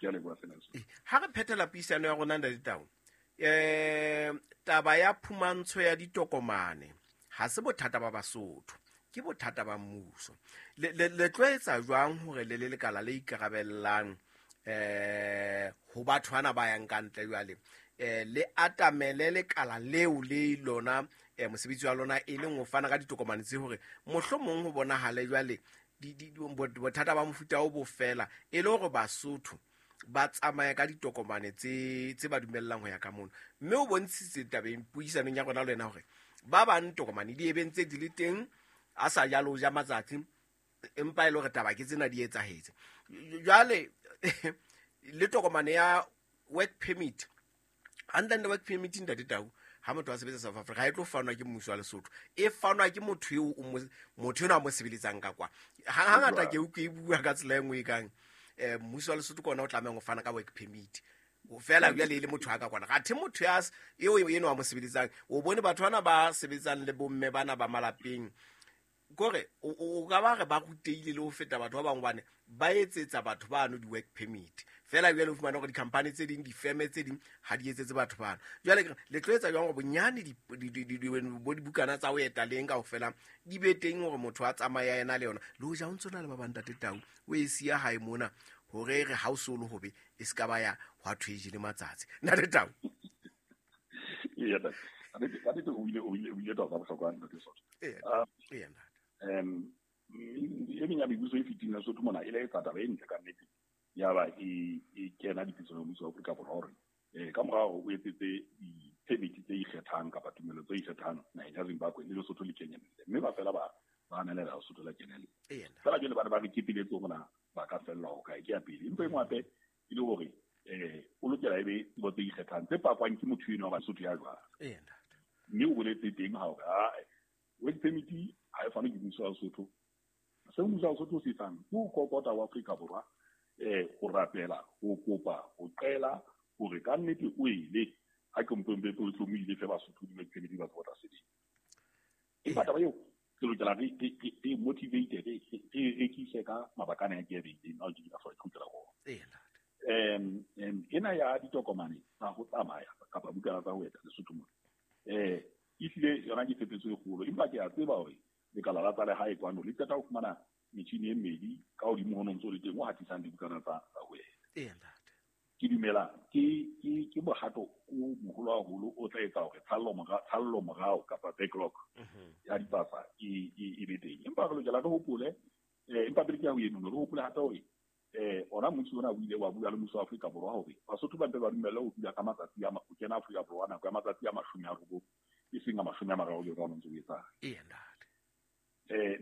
Ke a leboha sena. Ha re phethela puisano ya rona, Ntate Tau, taba ya phumantsho ya ditokomane ha se bothata ba Basotho, ke bothata ba mmuso. Le tlo etsa jwang hore le le lekala le ikarabellang ho batho bana ba yang ka ntle jwale, le atamele lekala leo le lona, mosebetsi wa lona e leng ho fana ka ditokomane tse hore mohlomong ho bonahale jwale bothata ba mofuta o bo fela, e le hore Basotho ba tsamaye ka ditokomane tse ba dumellang ho ya ka mono. Mme o bontshitse tabeng puisanong ya rona le wena hore ba bang tokomane di ebeng tse di le teng, a sa jalo ja matsatsi, empa e le hore taba ke tsena di etsahetse. Jwale le tokomane ya work permit, hantle work permit, Ntate Tau, ha motho a sebetsa South Africa, ha e tlo fanwa ke mmuso wa Lesotho, e fanwa ke motho eo motho enwa a mo sebeletsang ka kwa. Hangata ke utlwe e bua ka tsela e nngwe e kang mmuso wa Lesotho ke ona o tlamehang ho fana ka work permit fela jwale e le motho a ka kwana, athe motho ya eo enwa a mo sebeletsang. O bone batho bana ba sebetsang le bomme bana ba malapeng, kore o ka ba re ba rutehile le ho feta batho ba bangwe, bane ba etsetsa batho bano di-work permit fela. Jwale o fumana hore di-company tse ding, difeme tse ding ha di etsetse batho bano. Jwale le tlo etsa jwang hore bonyane bo dibukana tsa ho eta leng kaofela di be teng, hore motho a tsamaya ena le yona, le hoja o ntso na le ba bang, Ntate Tau, o e siya hae mona, hore re ha o so le hobe e se ka ba ya hwa thwe e jele matsatsi, Ntate Tau? Ka nnete o ile taba tsa bohlokwa, Ntate Soto. Ee, ntate. E meng ya mebuso e fetileng Lesotho mona e le etsa taba e ntle ka nnete, ya ba e kena dipitsong ya mmuso wa Afrika Borwa hore ka mora hore o etsetse di-permit tse ikgethang kapa tumelo tse ikgethang naheng ya Zimbabwe, le Lesotho le kenyelle, mme ba fela ba anelela Lesotho la kenelle. Fela jwale ba ne ba re kepeletse hore na ba ka fellwa ho kae. Ke ya pele. Empa e nngwe hape e le hore o lokela e be tsebo tse ikgethang tse pakwang ke motho eno wa Basotho ya jwang. Mme o boletse teng ha hore work permit ha e fanwe ke mmuso wa Lesotho. Seo mmuso wa Lesotho o se etsang ke ho kokota wa Afrika Borwa, ho rapela, ho kopa, ho qela hore ka nnete o ile a ke mpempe o tlo mo ile fe Basotho di-work permit ba tsebo tla sebetsa. Empa taba eo re lokela re motivate, re rekise ka mabaka ana a ke a beileng ao ke ka ke kgutlela ho ena ya ditokomane tsa ho tsamaya kapa bukana tsa ho eta Lesotho mona. Ehlile yona ke phephetso e kgolo, empa ke a tseba hore lekala la tsa lehae kwano le qeta ho fumana metjhini e mmedi ka hodimo ho ntso le teng o hatisang dibukana tsa ho eta. Ke dumela ke bohato o moholo haholo o tla etsa hore tshallo morao kapa backlog ya dipasa e be teng. Empa re lokela re hopole, empa pele ke ya ho eno, re hopole hape hore ona mmuso ona o ile wa bua le mmuso wa Afrika Borwa hore Basotho ba mpe ba dumelle ho dula ka matsatsi a ho kena Afrika Borwa nako ya matsatsi a 90, e seng a 30 jwalo ka ho ntso o etsahala.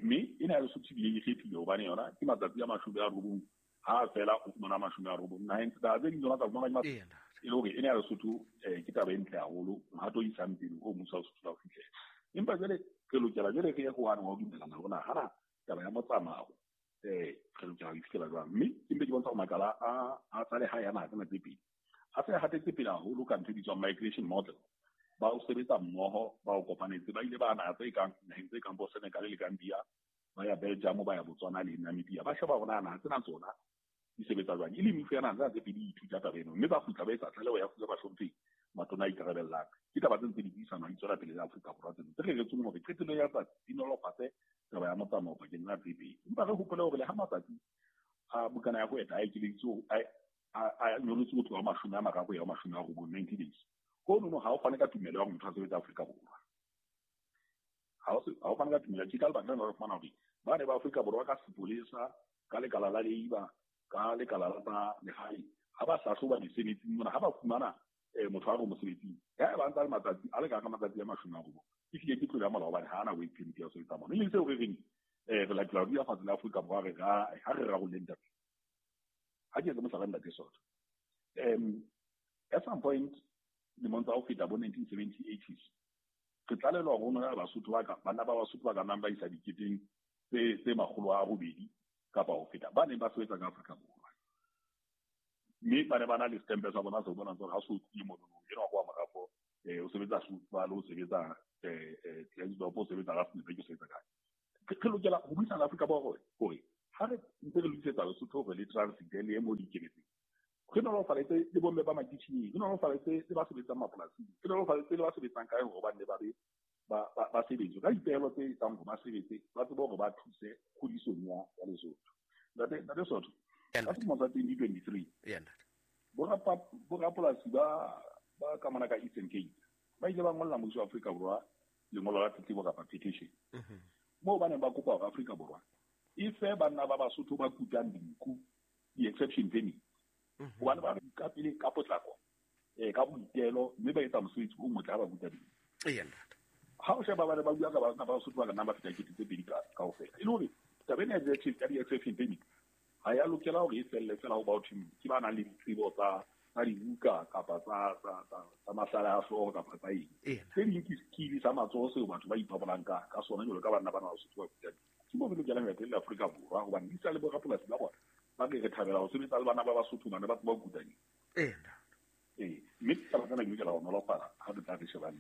Mme ena ya Lesotho ebile e kgethile hobane yona ke matsatsi a 90, ha fela o fumana 90. Naheng tsa tse ding tsona tsa fumana e le hore ena ya Lesotho ke taba e ntle haholo, mohato o isang pele o mmuso wa Lesotho la ho fihlela. Empa jwale re lokela jwale re ye ho wane wa ho dumellana hore na hana taba ya motsamao re lokela ho e fihlela jwang. Mme ke mpe ke bontsha hore makala a tsa lehae a naha tsena tse pedi a se a hatetse pele haholo ka ntho e bitswang migration model. Ba o sebetsa mmoho, ba o kopanetse, ba ile ba naha tse kang naheng tse kang bo Senegal le Gambia, ba ya Belgium, ba ya Botswana le Namibia, ba sheba hore na naha tsena tsona di sebetsa jwang, e le mefu ya naha tsena tse pedi ithuta taba eno, mme ba kgutla ba etsa tlaleho ya fuwa bahlomphehi matona a ikarabellang. Ke taba tse ntse di buisanwa di tswela pele le Afrika Borwa tseno tse reretsweng hore qetellong ya tsatsi di nolofatse taba ya motsamao pakeng tsa tse pedi. Empa re hopole hore le ha matsatsi a bukana ya ho eta a ekeleditswe, a nyolotswe ho tloha 30 ya ho 90, 90 days, honono ha o fane ka tumelo ya hore motho a sebetse Afrika Borwa. Ha o fane ka tumelo. Ke ka lebaka lena re fumana hore ba ne ba Afrika Borwa ka sepolesa, ka lekala la labour, ka lekala la tsa lehae, ha ba hlahloba mesebetsing mona, ha ba fumana motho a re mosebetsing ya ba ntsa le matsatsi a le ka matsatsi a 90, ehlile ke tlolo ya molao hobane ha ana work permit ya ho sebetsa mona. E leng seo re reng re latela ho dula fatshe le Afrika Borwa, re ha re rarolleng taba. Ha ke etse mohlala, Ntate Soto, at some point lemong tsa ho feta bo 1970 80s, re tlalelwa hore na Basotho ba ka banna ba Basotho ba ka nnang ba isa diketeng tse 800 kapa ho feta ba neng ba sebetsa ka Afrika Borwa, mme ba ne ba na le setempe sa bona se bonang hore ha se o tlile monono enwa kwa morafo, o sebetsa Soetsvale, o sebetsa Klerksdorp, o sebetsa Rustenburg, o sebetsa kae. Re lokela ho buisana le Afrika Borwa hore ha re ntse re lokisetsa Lesotho hore le transit le ye mo le ikemetseng. Re nolofaletse le bomme ba makitjhineng, re nolofaletse le ba sebetsang mapolasing, re nolofaletse le ba sebetsang kae hore ba nne ba be ba sebetse ka dipehelo tse etsang hore ba sebetse, ba tsebe hore ba thuse kgodisong ya Lesotho. Ntate Sotho, ka selemo sa 2023, borapolasi ba ka mona ka Eastern Cape ba ile ba ngolla mmuso wa Afrika Borwa lengolo la tletlebo kapa petition, moo ba neng ba kopa hore Afrika Borwa e fe banna ba Basotho ba kutang dinku di-exception permit, hobane ba ka pele ka potlako, ka boitelo, mme ba etsa mosebetsi o motle ha ba kuta dinku. Ha o sheba ba ne ba bua ka banna ba Basotho ba ka nnang ba feta 2000 kaofela. E le hore taba ena ya di-exception permit ha ya lokela hore e felle fela ho batho ke ba nang le ditsebo tsa dibuka kapa tsa mahlale a hlooho kapa tsa eng. Tse ding ke skill sa matsoho seo batho ba ipabolang ka sona jwalo ka banna ba na Basotho ba kuta dinku. Ke moo re lokelang ho ya teng le Afrika Borwa, hobane di sa le borapolasi ba bona ba re re thabela ho sebetsa le bana ba Basotho bana ba tseba ho kuta dinku. Mme taba tsena di lokela ho nolofala ha re tla re shebang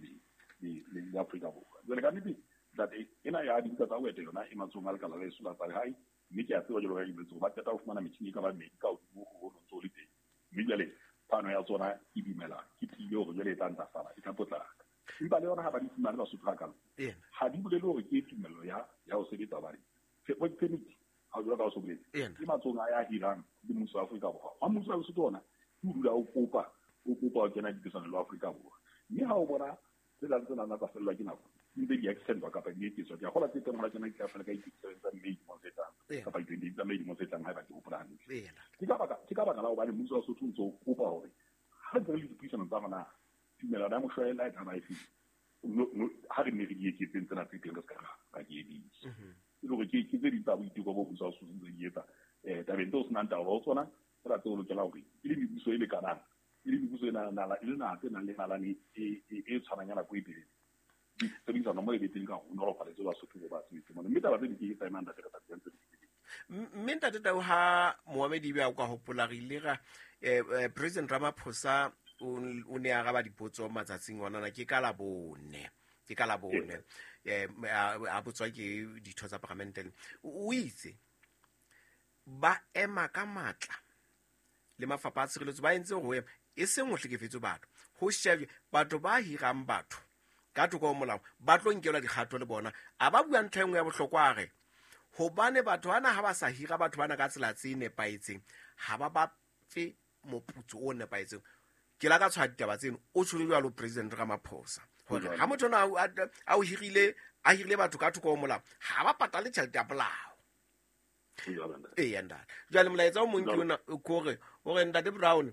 le Afrika Borwa. Jwale ka nnete ntate, ena ya dibuka tsa ho eta yona e matsohong a lekala la leso la tsa lehae, mme ke a tseba jwalo ka ke boletse hore ba qeta ho fumana metjhini e ka bang medi ka hodimo ho ho ntso le teng. Mme jwale phano ya tsona ke dumela ke tiile hore jwale e tla ntlafala, e tla potlaka. Empa le yona ha ba di fumane Basotho hakalo, ha di bolele hore ke tumello ya ho sebetsa, hobane work permit ha jwalo ka o so boletse ke matsohong a ya hirang le mmuso wa Afrika Borwa. Wa mmuso wa Lesotho ona ke o dula o kopa ho kena dipesanong le Afrika Borwa. Mme ha o bona tse tlang tsena tsa fellwa ke nako, di ntse di extendwa kapa di eketswa. Ke a kgolwa tse teng hona tjena di tla fela ka di-27 tsa May dilemong tse tlang, kapa di-28 tsa May dilemong tse tlang, haeba ke hopola hantle. Ke ka baka la hobane mmuso wa Lesotho o ntso o kopa hore ha re ntse re le dipuisanong tsa rona, tumelano ya moshwelella e tla ba efe, ha re nne re di eketseng tsena tse teng, re se ka ra di emisa. E le hore ke tse ding tsa boiteko bo mmuso wa Lesotho ntse di etsa tabeng tseo senang taolo ho tsona, tsena tseo lokela hore e le mebuso e lekanang, e le mebuso e nang le naha tse nang le nalane e tshwanang ya nako e telele, tshebedisano mo e be teng ka ho nolofaletse Basotho bo ba sebetse mona. Mme taba tse di ke tsa emang ntate, re tla ntse di. Mme ntate Tau, ha Mohamedi be a ka hopola, re ile ra President Ramaphosa o ne a araba dipotso matsatsing ona na ke ka Labone, a botswa ke ditho tsa parlamente. O itse ba ema ka matla le mafapha a tshireletso, ba entse ho ema e seng ho hlekefetswe batho, ho shebwe batho ba hirang batho ka thoko ho molao, ba tlo nkelwa dikgato le bona. A ba bua ntho e nngwe ya bohlokwa, a re hobane batho bana ha ba sa hira batho bana ka tsela tse nepahetseng, ha ba ba fe moputso o nepahetseng. Ke la ka tshwaya ditaba tseno, o tshwere jwalo President Ramaphosa hore ha motho ona a o hirile, a hirile batho ka thoko ho molao, ha ba patale tjhelete ya polao. Eya ntate. Jwale molaetsa o mong ke ona, ke hore ntate Brown,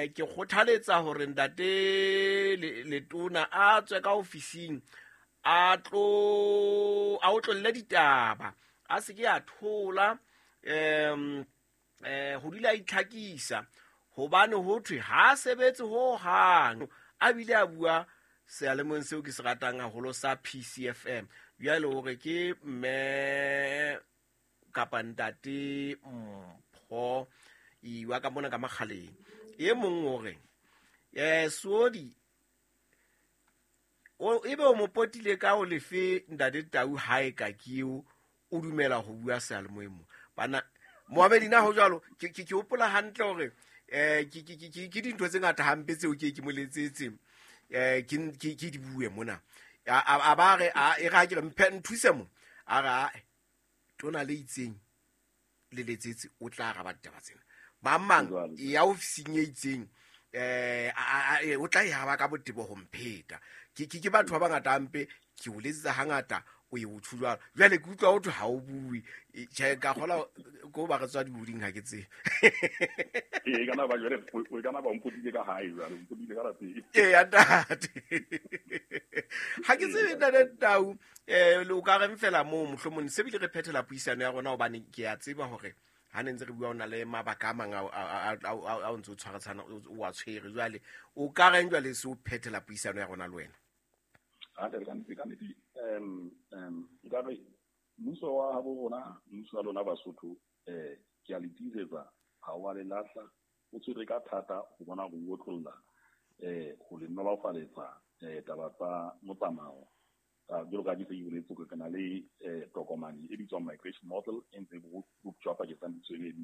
ke kgothaletsa hore ntate Letona a tswe ka ofising, a tlo a otlolle ditaba, a se ke a thola, ho dula a itlhakisa, hobane ho thwe ha sebetse ho hang. A bile a bua seyalemoyeng seo ke se ratang haholo sa PCFM. Jwale hore ke mme kapa ntate Mpho iwa ka mona ka makgaleng. E mong hore Sodi o ebe o mo potile ka o lefe ntate Tau hae ka keo o dumela ho bua seyalemoyeng mo. Bana Mohamedi na ho jwalo, ke hopola hantle hore ke dintho tse ngata hampe tseo ke mo letsetse, ke di bue mona. A ba re e ra ke re mphe nthuse mo, a re tona le itseng le letsetse o tla araba ditaba tsena. Ba mang ya ofising e itseng, o tla e araba ka botebo ho mpheta. Ke batho ba bangata hampe, ke o letsetsa hangata, o e o tjho jwalo. Jwale ke utlwa ho thwe ha o bue. Tjhe, ka kgola ko ba re tswa dihoding ha ke tsebe. Ee, kana ba jwale, o kana ba mpotile ka hae jwale, o mpotile ka lapeng. Ee, ntate. Ha ke tsebe ntate Tau, o ka reng fela moo mohlomong se bile re phethela puisano ya rona, hobane ke a tseba hore ha ne ntse re bua o na le mabaka a mang a o ntse o tshwaretshana, o a tshwere jwale. O ka reng jwale se o phethela puisano ya rona le wena? Ka nnete, nkare mmuso wa habo rona, mmuso wa lona Basotho, ke a le tiisetsa ha wa le lahla, o tshwere ka thata ho bona hore o otlolla, ho le nolofaletsa taba tsa motsamao. Jwalo ka ke se ke boletse hore re na le tokomane e bitswang migration model e ntse e boptjwa pakeng tsa mmuso e mmedi.